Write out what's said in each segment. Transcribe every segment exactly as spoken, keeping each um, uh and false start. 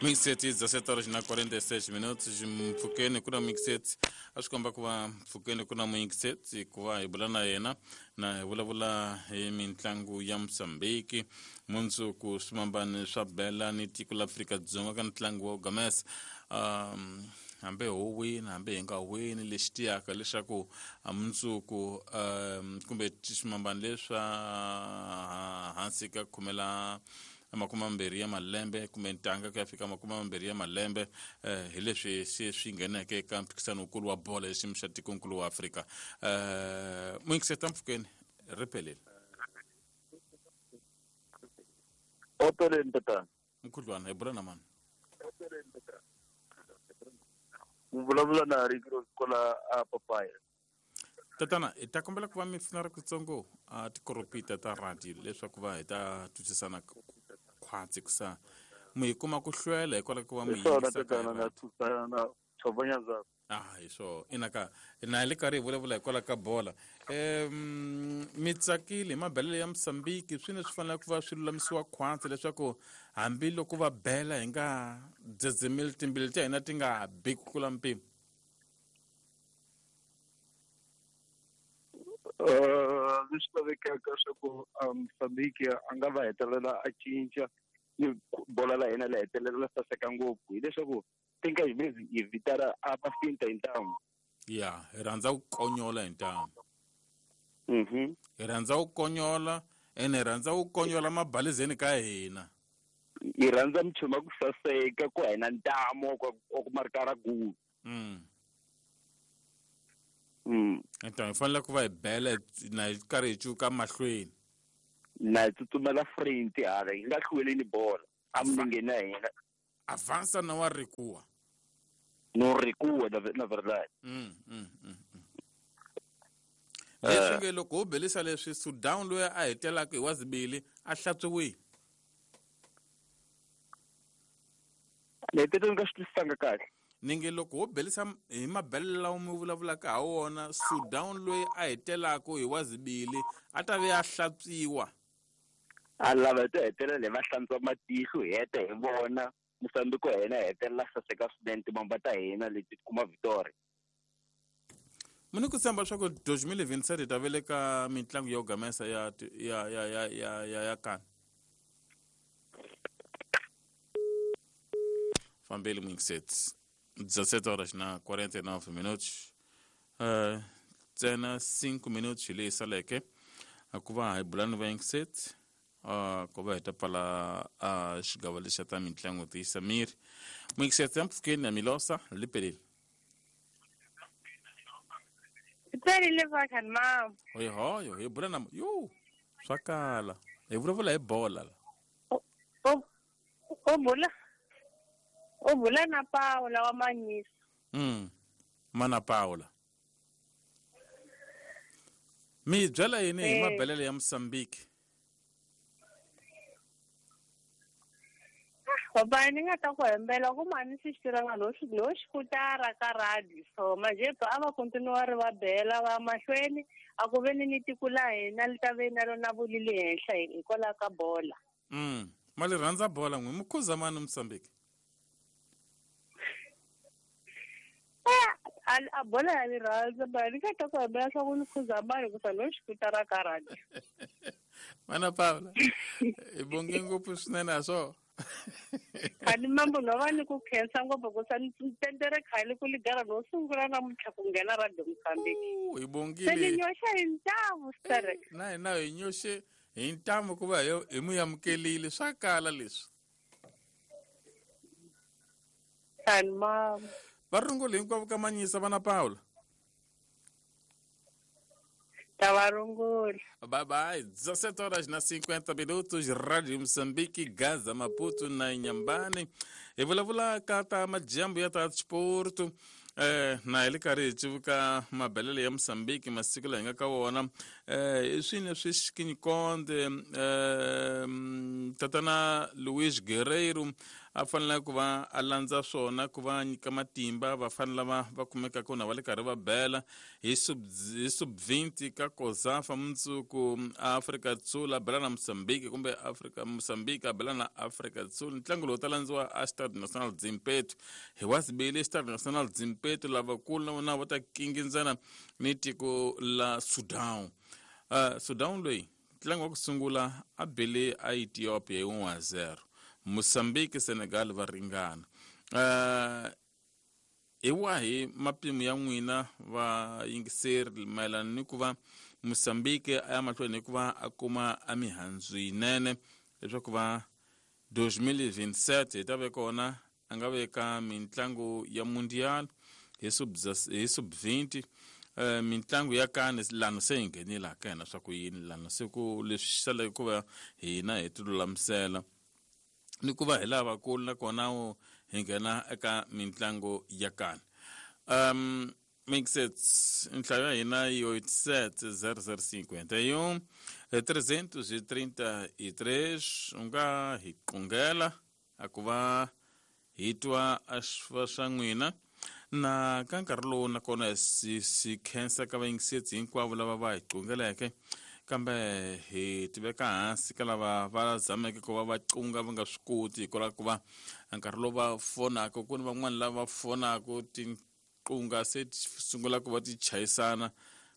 Mixet dezessete horas na quarenta e seis minutos mpfukeni ku na mixet a swi komba ku va mpfukeni ku na mixet ku va hi bula na yena na hi vulavula hi mitlangu ya Mozambique mundzuku swimambani swa bela ni tiko la Afrika-Dzonga ka ntlangu wa Gamesa um hambi ho wina hambi hi nga wini lexi tiyaka leswaku mundzuku um kumbe swimambani leswa hansi ka khumela makumi mambirhi ya malembe kumbe ntanga ku ya fika makumi mambirhi ya malembe eh, hi leswi se swi ngheneke eka mphikisano wukulu wa bolo ya xiyimo xa tikonkulu wa Afrika eh muyingiseta mpfukeni ri pelele Opeleni tatana mkhudlwana hi bula na mani mu vulavula na Ricky kola a papaya tatana hi ta kombela ku va mi pfuna ri kutsongo a tikoropita ta radio leswaku va hi ta twisisana khwatsi kusa mi hi kuma ku hlwela hikwalaho ku va mi hi swona yingisa ka tatana na radio. thusana na tshovanya ah hi swona inaka na hi le karhi hi vulavula hikwalaho ka bola um mi tsakile hi mabelelo ya Mozambique swi ne swi fanele ku va swi lulamisiwa khwatsi leswaku hambiloko va bela hi nga dzedzemeli timbilu ta hina ti nga bi ku tlula mpimo Uh, leswi lavekaka swa ku Mozambique a nga va hetelela a cinca ni bola la hina la hetelela la saseka ngopfu hileswaku tinka hi hi vitana a va finta hi ntamu ya hi rhandza ku konyola hi ntamu mhm hi rhandza ku konyola ene hi rhandza ku konyola mabalizeni ka hina hi rhandza michumu ya ku saseka ku hina ntamu wa ku wa ku marikara gulu mm. mm enta hi fanele ku va hi bela na hi karhi hi cuka mahlweni na hi tsutsumela front hala hi nga hlweleni bola a milengeni ya hina avança na wa recua no recua na na verdade mm, mm, mm, mm. leswi nge loko ho belisa leswi Sudan loyi a hetelaka hi wa zibili a hlantswiwile ni hetelele ni nga swi twisisanga kahle ni nge loko ho belisa hi mabelelo lawa mi vulavulaka ha wona Sudan loyi a hetelaka hi wa zibili a ta ve a hlantswiwa a lava hi to hetelela hi va hlantswa matihlo hi heta hi vona Mozambique wa hina hi hetelela saseka swinene timamba ta hina leti ti kuma victory mi ni ku tshemba leswaku twenty twenty-seven hi ta ve le ka mitlangu ya Gamesa ya ya ya ya ya ya ya kani fambeli muyingiseti dezessete horas na quarenta e nove minutos uh, ntsena cinco minutos hi leyi saleke ku va hi bula ni vayingiseti uh, ku va hi ta pfala uh, xigava lexa ta mitlangu tiyisa miri muyingiseti ya mpfukeni ya Milosa li pelile Pelile vakhani mama hoyihoyo hi bula na yo swa kala hi vulavula hi bola la o o bula o bula na Paula wa Manyisa mm mana Paula mi byela yini hi Eh. mabelelo ya Mozambique Baba ni nga ta ku hembela ku mani swi xi no xi no xikutara ka radio so manje a va continue ri va bela va mahlweni a ku ve ni ni tiko la hina li ta ve na rona vulili henhla hikwalaho ka bola mm ma li rhandza bola n'wi mi khuza mani Mozambique a a bola ya ni rhandza mara ni nga ta ku hembela swa ku ni khuza mani ku sa no xikutara ka radio mana Paula hi bonge ngopfu swinene a swo khani mambo no va ni ku khensa ngopfu ku sa ni tendere khale ku ligara no sungula namuntlha ku nghena radio Mozambique hi se ni bongile nyoxa hi ntamu sterek na hina hi nyoxe hi ntamu ku va hi hi mu amukelile swa kala leswi khani mama va rungula hinkwavo ka Manyisa vana Paula ta va rungula Bye bye. dezessete horas na cinquenta minutos, Rádio Moçambique, Gaza, Maputo na Inhambane. Hi vulavula ka ta majambu ya ta sport. Eh, na hi le karhi hi civuka mabelelo ya Mozambique masiku laha hi nga ka wona Eh i swini leswi Xikinyikonde eh tatana Luis Guerreiro a fanele ku va a landza swona ku va nyika matimba vafana lava va kumekaka na va le karhi va bela hi sub hi sub twenty ka Kozafa mundzuku Afrika Sul a bela na Mozambique kumbe Afrika Mozambique a bela na Afrika Sul. Ntlangu lowu ta landziwa a Stade National Zimpeto hi wasibili Stade National Zimpeto lavakulu na vona va ta kingindzana ni tiko la Sudan. Uh, Sudan loyi ntlangu wa ku sungula a bele a Ethiopia hi one zero. Mozambique Senegal va ringana. Uh, hi wahi mapimo ya n'wina va yingiseri mayelana ni ku va Mozambique a ya mahlweni hi ku va a kuma a mihandzu yinene leswaku va twenty twenty-seven hi ta ve kona a nga veka mintlangu ya mundial hi sub hi sub twenty Uh, mintlangu ya kane lano se hi nghenile ka hina swa ku yini lano se ku leswi saleke ku va hina hi ti lulamisela ni ku va hi lavakulu nakona hi nghena eka mintlangu ya kane. Um mixets nhlayo ya hina yi eighty-seven zero zero cinquenta e um trezentos e trinta e três u nga hi qungela a ku va hi twa a swa swa n'wina na ka nkarhi lowu nakona si si khensa ka vayingisetsi hinkwavo lava va hi qungeleke kambe hi tiveka hansi ka lava va zameke ku va va qunga va nga swi koti hikwalaho ku va nkarhi lowu va fonaka ku ni van'wani lava fonaka tinqunga se ti sungula ku va ti chayisana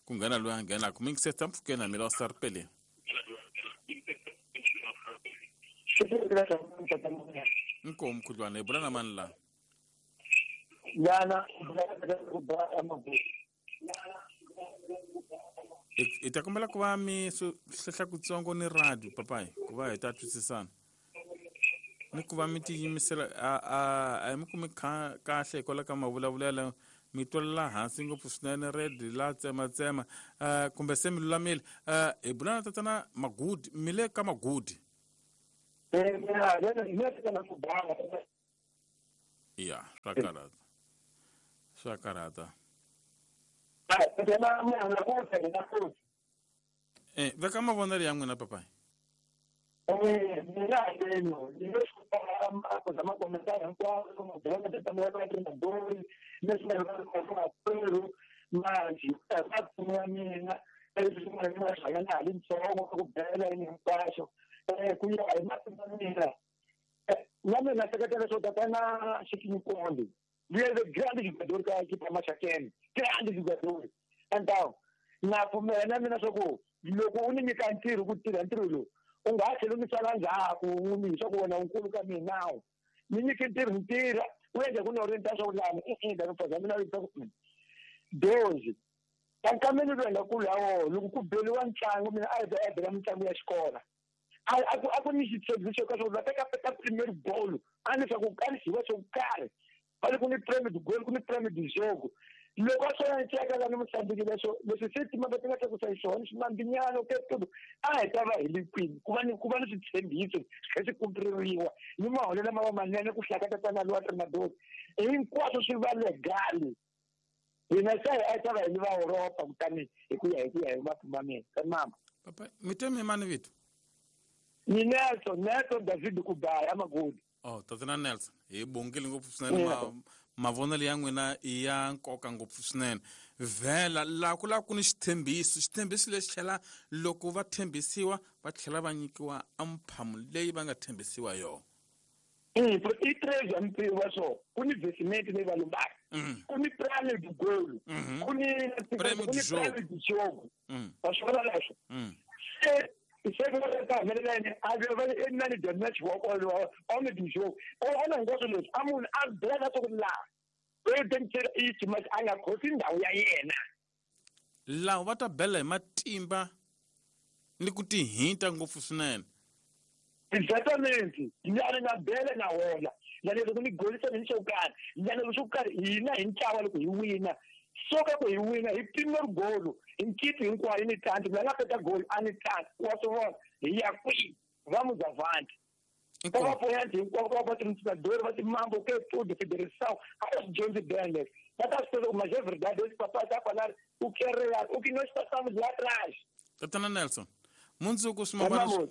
ku nghena loyi a nghenaka mingisetsa mpfhukeni na mina wa saripeleni. Inkomu mkhudlwana hi bula na mani laha? Yana hi ta kombela ku va mi hlehla kutsongo ni radio papayi ku va hi ta twisisana ni ku va mi tiyimisela a a a hi mi kumi kahle hikwalaho ka mavulavulelo mi twelela hansi ngopfu swinene red la tsematsema um kumbe se mi lulamile. Um hi bula na tatana Magudi mi le ka Magudi. Ya swa karhata swa karhata. Eh veka mavonelo ya n'wina papayi. Na mina sekretela swo tatana Xikinyikonde luya the grande jogador ka equipe ya Maxakeni grande jogador então na pfumela na mina swa ku loko u ni nyika ntirho ku tirha ntirho lowu u nga ha tlhela u ni sala ndzhaku u ni swa ku wena u nkulu ka mina ni nyike ntirho ni tirha u endla ku ni orienta swa ku lani i-i lani mina yisa ku dozi kankameni loyi nga kulu ya wona loko ku beliwa ntlangu mina a hi ta bela mitlangu ya xikolo a ku a ku ni xitshembiso ka swo va teka peta primeiro gol a ni swa ku a ni xiwa xo karhi va le ku ni prêmio do gol ku ni prêmio do jogo loko a swo ya nceka la ni Mozambique leswo leswi se timhaka ti nga tlakusa hi swona swimambinyana ke tudo a hi ta va hi le kwini ku va ni ku va ni switshembiso swi kha swi kumpreriwa ni maholelo lama va manene ku hlaka tatana lowa Trimadori hinkwaswo swi va legal hina se a hi ta va hi ni va Europa kutani hi ku ya hi ku ya hi mapfuma mina ka mama papa mi te mi mani vito ni Nelson Nelson David Kubaya Magudi. Oh tatana Nelson hi bongile ngopfu swinene ma mavonelo ya n'wina i ya nkoka ngopfu swinene vhela laha ku lava ku ni xithembiso xithembiso lexi tlhela loko va tshembisiwa va tlhela va nyikiwa amphamu leyi va nga tshembisiwa yona. I três ampiwa so ku ni vesimenti leyi va lombaka ku ni prêmio do gol ku ni prêmio do jogo va swi vona leswo se se va ta humelela yini a ve va i nani the match wa kolo homem do jogo ona hinkwaswo leswi a munhu a bela swa ku laha loyi tengitela i match a nga khosi ndhawu ya yena laha va ta bela hi matimba ni ku tihinta ngopfu swinene. Exatamente nyana na bela na hola nyana loko ni golisa ni xo karhi nyana loko xo karhi hina hi ntlawa loko hi wina soka ku hi wina hi primeiro golo hi nkiti hinkwayo ni tanti la nga peta gol a ni tanti wa swi vona hi ya kwihi vamos avante va apoiante hinkwavo va patrocinador va timambo que tudo federação a swi dyondzi bem va ta swi tiva mas é verdade esse papai tá falar o que é real o que nós passamos lá atrás. Tatana Nelson, mundzuku swimambana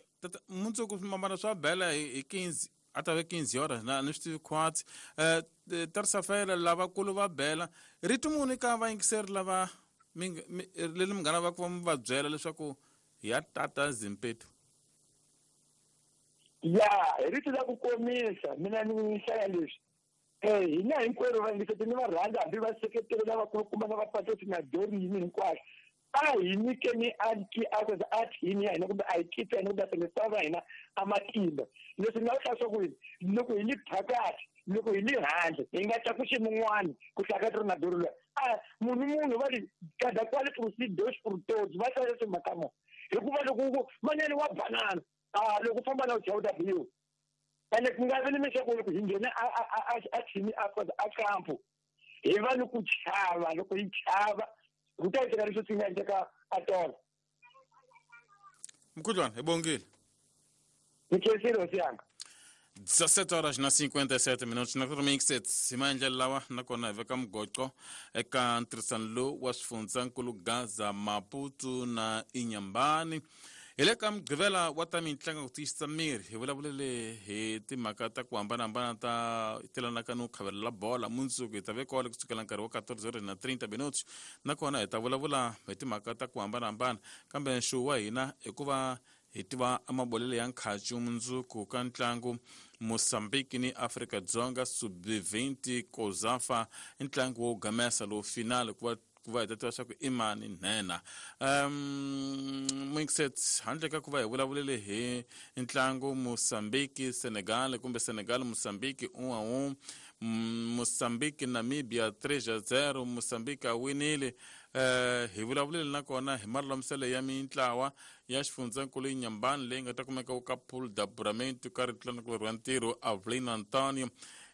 mundzuku swimambana swa bela hi quinze a ta ve quinze horas na ni swi tivi khwatsi. Eh terça-feira lavakulu va bela. Rito muni ka vayingiseri lava leri munghana va ku va mi va byela leswaku ya tata Zimpeto? Ya, hi rito la ku komisa mina ni hlaya leswi. Eh hina hinkwerhu vayingiseri ni va rhandza hambi va seketeri lavakulukumba na vapatroti na Dorini hinkwaswo. A hi nyikeni a thini ya hina kumbe a hi kipa hina kumbe a va hina a matimba. Leswi ni nga vula swa ku loko hi li phakathi, loko hi li handle, hi nga tlakusi mun'wani ku hlakati ri na doro loyi. A munhu munhu va ri cada qual por si dois por todos, va hlaya leswi mhaka mo. Hikuva loko ku manene wa banana, a loko u famba na u chawuta biyo. Ene ku nga vi ni leswaku loko hi nghena a a a thini a a kampo, hi va ni ku chava, loko hi chava ku ta endleka leswi swi nga endleka atolo. Mkhudlwana, hi bongile. Ni khensile hosi yanga. dezessete horas na cinquenta e sete minutos na remixet hi maendlelo lawa nakona hi veka mugoqo eka ntirhisano lowu wa swifundzankulu Gaza, Maputo na Inhambane. Hi le ka mugqivela wa ta mitlangu ku tiyisisa miri hi vulavulele hi timhaka ta ku hambanahambana ta telanaka no khavelela bola. Mundzuku hi ta ve kwale kusukela nkarhi wa quatorze horas na trinta minutos nakona hi ta vulavula hi timhaka ta ku hambanahambana, kambe nxuwu wa hina i ku va hi tiva amabolelo ya nkhacu mundzuku ka ntlangu Mozambique ni Afrika Dzonga sub vinte Kozafa, ntlangu wo gamesa lowu final ku va ku va hi ta tiva swa ku i mani nhenha. Um mixet handle ka ku va hi vulavulele hi ntlangu Mozambique Senegal kumbe Senegal Mozambique um a um, Mozambique Namibia três a zero, Mozambique a winile. Eh hi vulavulele nakona hi malulamiselo ya mintlawa ya xifundzankulu Inhambane leyi nga ta kumeka ka pool d'apuramento ka ritlanakulu ra ntirho Avelino Antonio.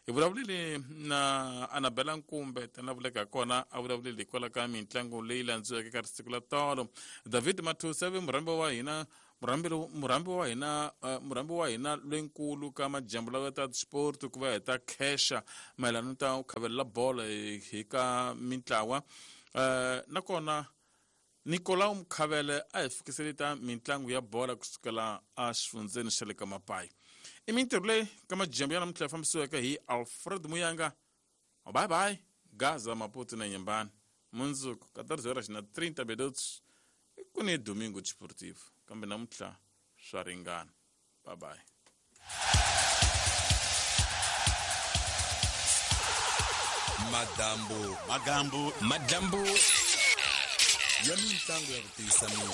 Hi vulavulele na Anabela Nkumbe tana vuleka kona a vulavulele hikwalaho ka mitlangu leyi landziweke ka siku la tolo. David Mathusa ve murhambi wa hina murhambi murhambi wa hina murhambi wa hina loyinkulu ka majambu lawa ta sport ku va hi ta khesha mayelana ta ku khavelela bolo hi ka mintlawa. Uh, nakona Nicolau Mkhavele a hi fikisele ta mitlangu ya bola kusukela a xifundzeni xa le ka Mapai. I mintirho leyi ka majambu ya namuntlha ya fambisiweke hi Alfred Muyanga. Bye bye Gaza, Maputo na Inhambane. Mundzuku quatorze horas na trinta minutos ku ni Domingo Desportivo, kambe namuntlha swa ringana. Bye bye. Madambu, magambu, madambu ya mitlangu ya ku tiyisa miri.